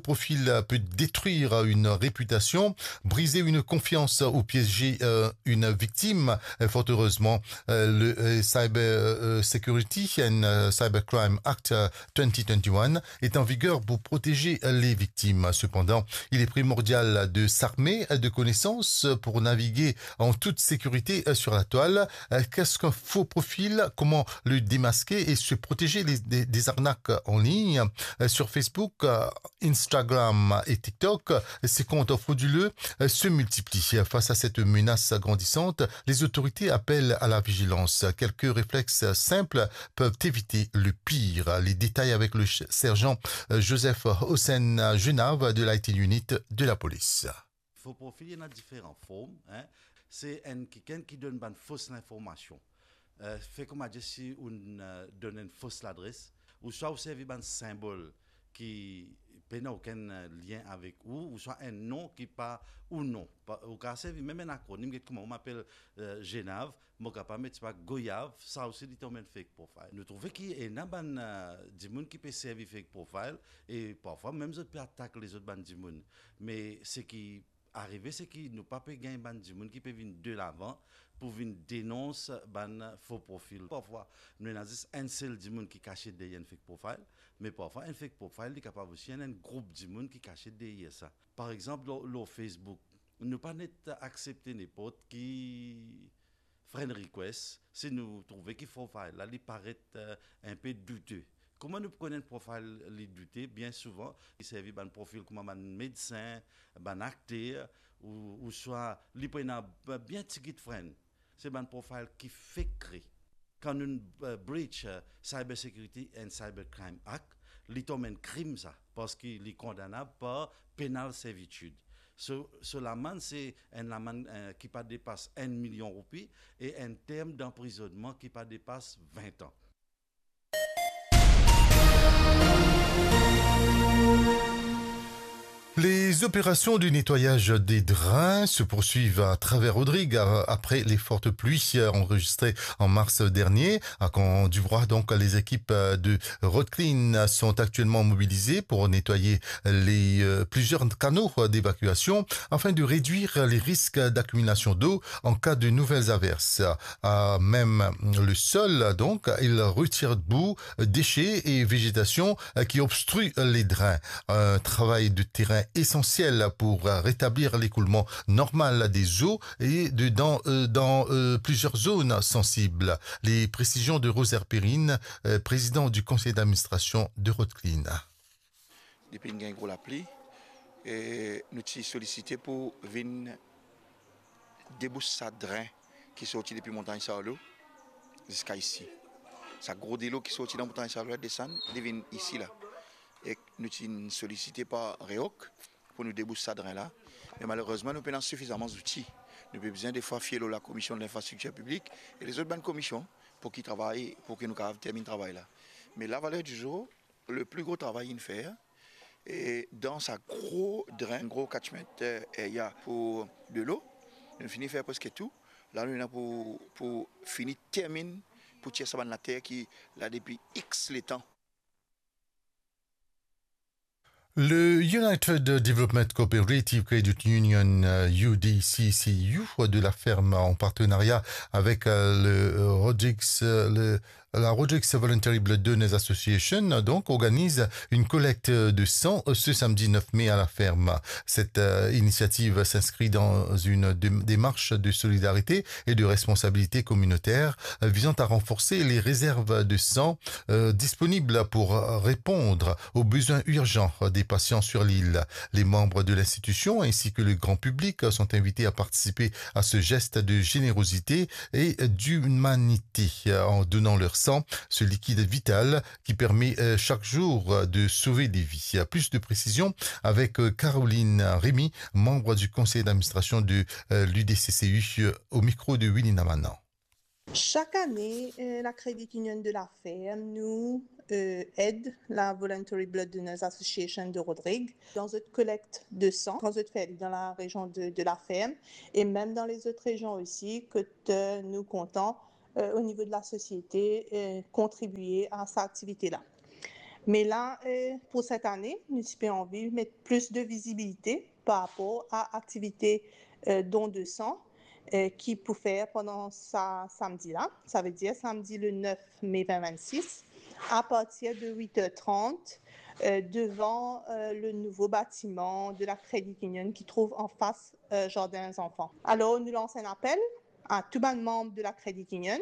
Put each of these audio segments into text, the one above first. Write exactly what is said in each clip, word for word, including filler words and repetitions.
profil peut détruire une réputation, briser une confiance ou piéger, euh, une victime. Euh, fort heureusement, euh, le, euh, Cyber, euh, Security and, euh, Cybercrime Act, euh, twenty twenty-one est en vigueur pour protéger les victimes. Cependant, il est primordial de s'armer de connaissances pour naviguer en toute sécurité, euh, sur la toile. Euh, qu'est-ce qu'un faux profil ? Comment le démasquer et se protéger des, des, des arnaques en ligne ? Euh, sur Facebook, euh, Instagram et TikTok, ces comptes frauduleux, euh, se multiplient. Face à cette menace grandissante, les autorités appellent à la vigilance. Quelques réflexes simples peuvent éviter le pire. Les détails avec le ch-, sergent, euh, Joseph Hossein Genav de l'I T unit de la police. Faux profil, il y en a différentes formes, hein. C'est un, quelqu'un qui donne une fausse information. Euh, fait comme à dire si on, euh, donne une fausse adresse, ou soit on servi un symbole ki pena okenn, euh, lien avek ou, ou swa enn non ki pa ou non. Pa, ou kapav servi mem enn akronim, get kouma, mo apel, euh, Genav, mo kapav met, sepa, Goyav, sa osi li tonbe enn fake profile. Nou trouve ki ena bann, euh, dimoun ki pe servi fake profile, e parfwa mem zot pe atak lezot bann dimoun. Me seki arive, seki nou pa pe gagn bann dimoun ki pe vinn delavan pou vinn denons bann faux profil. Parfwa, nou ena zis enn sel dimoun ki kasiet deryer enn fake profile, me parfwa enn fake profile, li kapav osi enn, enn group dimoun ki kasiet deryer sa. Par exanp, lor, lor Facebook, nou pa net aksepte nenport ki friend request, si nou trouve ki profile la, li paret, euh, enpe doute. Kouma nou pou konn enn profile li doute? Bien souvan, li servi bann profil kouma bann medsin, bann akter, ou, ouswa li pou ena b-, bien tigit friend. Se bann profile ki fek kre. Kan nou, euh, breach, euh, Cyber Security and Cyber Crime Act, li tonbe enn krim sa, parski li kondanab par penal servitude. So, so lamann, se enn lamann, euh, ki pa depas enn milion roupi e enn term danprizonnman ki pa depas vin an. Les opérations de nettoyage des drains se poursuivent à travers Rodrigues a-, après les fortes pluies enregistrées en mars dernier. À Camp-du-Broye, donc, les équipes de Road Clean sont actuellement mobilisées pour nettoyer les, euh, plusieurs canaux d'évacuation afin de réduire les risques d'accumulation d'eau en cas de nouvelles averses. À même le sol, donc, ils retirent boue, déchets et végétation, euh, qui obstruent les drains. Un travail de terrain essentiel pour, euh, rétablir l'écoulement normal des eaux et de, dans, euh, dans, euh, plusieurs zones sensibles. Les précisions de Rosaire Perrine, euh, président du conseil d'administration de Road Clean. Depi inn gagn gro lapli, e nou ti solisite pou vinn debous sa dren ki sorti depi Montagn Sarlo ziska isi. Sa gro delo ki sorti dan Montagn Sarlo la desann, li vinn isi la. E nou ti solisite par REOC pou nou debous sa dren la. Me malerezman, nou pena sifizaman zouti. Nou pe bizin defwa fie lor Lakomision Linfrastriktir Piblik e lezot bann komision pou ki travay, pou ki nou kapav terminn travay la. Me la, valer di zour, le pli gro travay inn fer, e dan sa gro dren, gro catchment, eh, area pou delo, nou fini fer preske tou. La, nou ena pou, pou fini terminn, pou tir sa bann later ki la depi X letan. Le United Development Cooperative Credit Union, euh, U D C C U, de la Ferme, en partenariat avec, euh, le, euh, Rodrigues, euh, le, la Rodrigues Voluntary Blood Donors Association, donc, organise une collecte de sang, euh, ce samedi neuf mai à la Ferme. Cette, euh, initiative s'inscrit dans une dé-, démarche de solidarité et de responsabilité communautaire, euh, visant à renforcer les réserves de sang, euh, disponibles pour répondre aux besoins urgents des patients sur l'île. Les membres de l'institution ainsi que le grand public sont invités à participer à ce geste de générosité et d'humanité, euh, en donnant leur sang, ce liquide vital qui permet, euh, chaque jour, euh, de sauver des vies. Plus de précisions avec, euh, Caroline Rémy, membre du conseil d'administration de, euh, l'U D C C U, euh, au micro de Winnie Namanan. Chaque année, euh, la Credit Union de la Ferme, nous, euh, aide la Voluntary Blood Donors Association de Rodrigues dans notre collecte de sang, quand nous faisons dans la région de, de la Ferme et même dans les autres régions aussi, que, euh, nous comptons, euh, au niveau de la société, euh, contribuer à cette activité-là. Me la, eh, pou set ane, nou ti pe anvi met plis de vizibilite par rapor a aktivite, eh, don de san, eh, ki pou fer pandan sa samdi la. Savedir samdi le nef me vin vennsis, apartir de wit er trant, eh, devan, eh, le nouvo batiman de la Credit Union ki trouv anfas, eh, zardin zanfan. Alor, nou lans enn apel a tou bann manm de la Credit Union,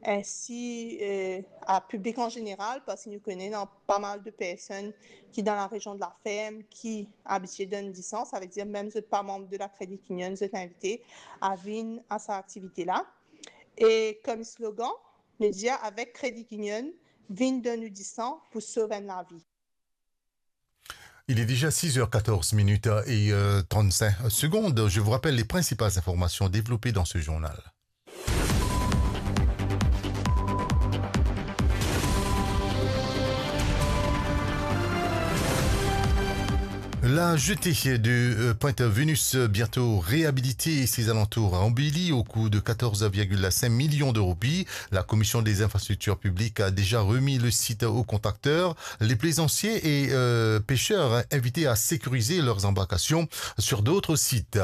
ensi, eh, a piblik an zeneral, parski nou kone ena pa mal de personn ki dan la rezion de la ferm, ki abitie donn disan, savedir mem zot pa manm de la Credit Union, zot invite a vinn a sa aktivite la. E kom slogan, nou dir avek Credit Union, vinn donn ou disan pou sov enn lavi. Il est déjà six heures quatorze minutes et, euh, trente-cinq secondes. Je vous rappelle les principales informations développées dans ce journal. La jetée de, euh, Pointe Vénus, euh, bientôt réhabilitée, et ses alentours embellis au coût de quatorze virgule cinq millions de roupies. La Commission des infrastructures publiques a déjà remis le site aux contracteurs. Les plaisanciers et, euh, pêcheurs invités à sécuriser leurs embarcations sur d'autres sites.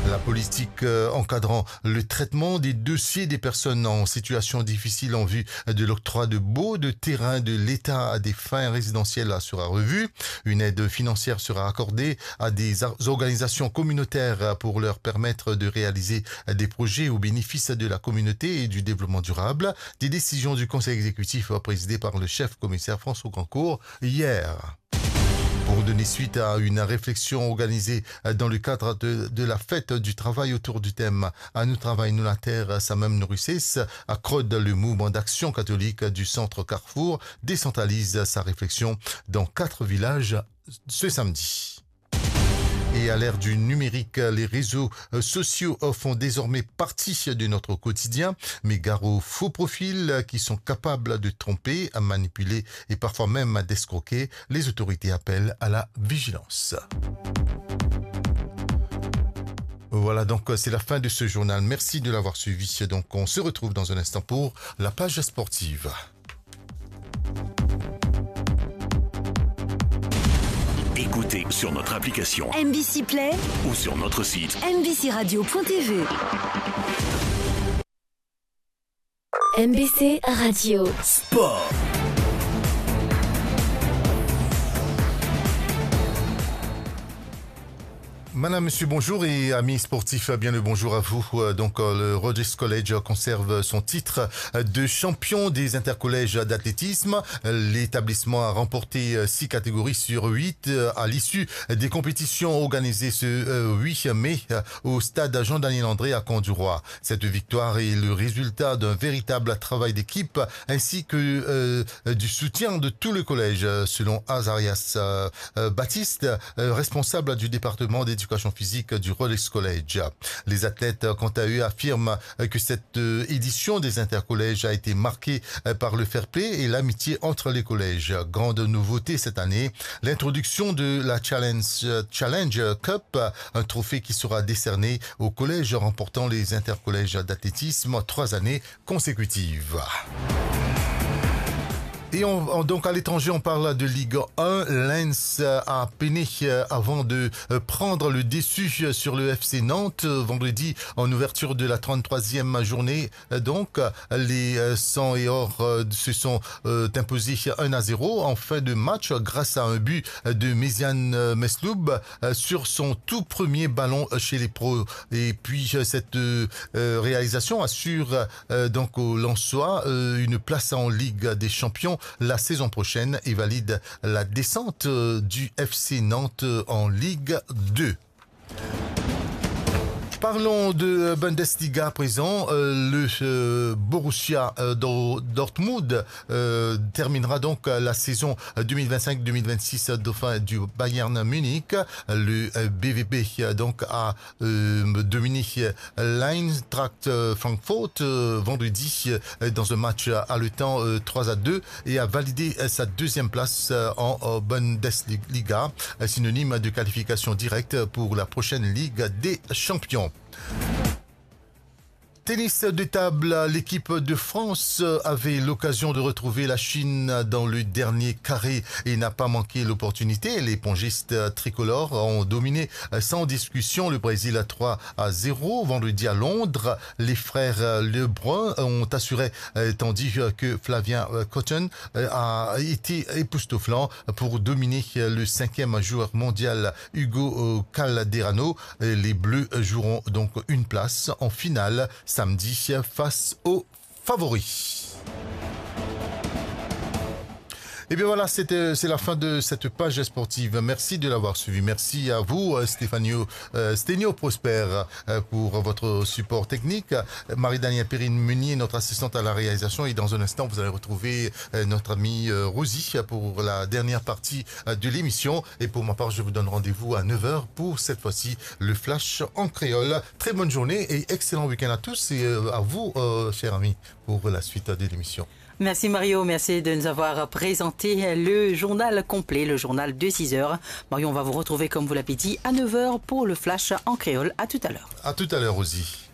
La politique, euh, encadrant le traitement des dossiers des personnes en situation difficile en vue de l'octroi de baux de terrain de l'État à des fins résidentielles sera revue. Une aide financière sera accordée à des ar-, organisations communautaires pour leur permettre de réaliser des projets au bénéfice de la communauté et du développement durable. Des décisions du Conseil exécutif présidé par le chef commissaire François Grandcourt hier. Pour donner suite à une réflexion organisée dans le cadre de, de la fête du travail autour du thème « A nou travay, nou later, samem nou rises », ACROD, le mouvement d'action catholique du centre Carrefour, décentralise sa réflexion dans quatre villages ce samedi. Et à l'ère du numérique, les réseaux, euh, sociaux, euh, font désormais partie de notre quotidien, mais gare aux faux profils, euh, qui sont capables de tromper, à manipuler et parfois même à d'escroquer. Les autorités appellent à la vigilance. Voilà, donc, euh, c'est la fin de ce journal. Merci de l'avoir suivi. Donc, on se retrouve dans un instant pour la page sportive. Écoutez sur notre application M B C Play ou sur notre site M B C radio point T V. M B C Radio. Sport. Madame, monsieur, bonjour et amis sportifs, bien le bonjour à vous. Euh, donc, euh, le Rhodes College conserve son titre de champion des intercollèges d'athlétisme. L'établissement a remporté, euh, six catégories sur huit, euh, à l'issue des compétitions organisées ce, euh, huit mai, euh, au stade Jean-Daniel André à Camp-du-Roi. Cette victoire est le résultat d'un véritable travail d'équipe ainsi que, euh, du soutien de tout le collège, euh, selon Azarias, euh, euh, Baptiste, euh, responsable du département d'éducation physique du Rhodes College. Les athlètes, euh, quant à eux, affirment, euh, que cette, euh, édition des intercollèges a été marquée, euh, par le fair-play et l'amitié entre les collèges. Grande nouveauté cette année, l'introduction de la Challenge, euh, Challenge Cup, un trophée qui sera décerné aux collèges remportant les intercollèges d'athlétisme trois années consécutives. Et on, on, donc à l'étranger, on parle de Ligue un. Lens, euh, a peiné, euh, avant de, euh, prendre le dessus, euh, sur le F C Nantes, euh, vendredi en ouverture de la trente-troisième journée. Euh, donc, euh, les, euh, Sang et Or, euh, se sont, euh, imposés un à zéro en fin de match grâce à un but, euh, de Méziane, euh, Mesloub, euh, sur son tout premier ballon, euh, chez les pros. Et puis, euh, cette, euh, euh, réalisation assure, euh, donc aux Lensois, euh, une place en Ligue des Champions la saison prochaine et valide la descente, euh, du F C Nantes, euh, en Ligue deux. Parlons de, euh, Bundesliga à présent. Euh, le, euh, Borussia, euh, Dor-, Dortmund, euh, terminera donc, euh, la saison, euh, deux mille vingt-cinq deux mille vingt-six, euh, dauphin du Bayern Munich. Le, euh, B V B, euh, donc, a, euh, dominé, euh, l'Eintracht, euh, Francfort, euh, vendredi, euh, dans un match, euh, haletant, euh, trois à deux et a validé, euh, sa deuxième place, euh, en, euh, Bundesliga, euh, synonyme de qualification directe pour la prochaine Ligue des Champions. Tennis de table, l'équipe de France avait l'occasion de retrouver la Chine dans le dernier carré et n'a pas manqué l'opportunité. Les pongistes tricolores ont dominé sans discussion le Brésil à trois à zéro. Vendredi à Londres, les frères Lebrun ont assuré, tandis que Flavien Cotton a été époustouflant pour dominer le cinquième joueur mondial Hugo Calderano. Les Bleus joueront donc une place en finale samedi face aux favoris. Et bien voilà, c'était, c'est la fin de cette page sportive. Merci de l'avoir suivi. Merci à vous, euh, Stéphanie, euh, Stenio Prosper, euh, pour votre support technique. Marie-Danielle Perrine-Meunier, notre assistante à la réalisation. Et dans un instant, vous allez retrouver, euh, notre amie, euh, Rosie pour la dernière partie, euh, de l'émission. Et pour ma part, je vous donne rendez-vous à neuf heures pour cette fois-ci le Flash en créole. Très bonne journée et excellent week-end à tous et, euh, à vous, euh, chers amis, pour la suite de l'émission. Merci Mario, merci de nous avoir présenté le journal complet, le journal de six heures. Mario, on va vous retrouver, comme vous l'avez dit, à neuf heures pour le Flash en créole. À tout à l'heure. À tout à l'heure, Rosie.